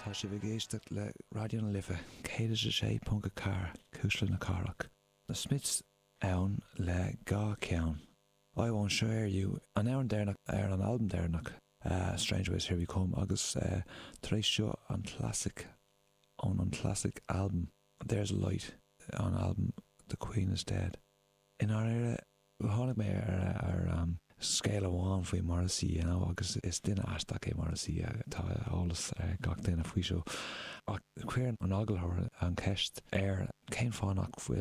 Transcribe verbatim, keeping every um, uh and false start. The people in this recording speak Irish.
Tá sibh ag éisteacht le Raidió na Life céad a sé ponc a ceathair Cuisle na Cathrach. Na Smiths ann le dhá cheann. I won't share you an amhrán deireanach ar an albam deireanach uh, Strange Ways Here We Come agus uh, tar éis seo an classic ón an classic album There's a Light an album The Queen is Dead. In áire tháinig mé ar ar um, scéal amháin faoi Morrissey you know, agus is duine aisteach é Morrissey tá eolas gach duine faoi seo. Ach chuir an t-agallóir an cheist air cén fáth nach bhfuil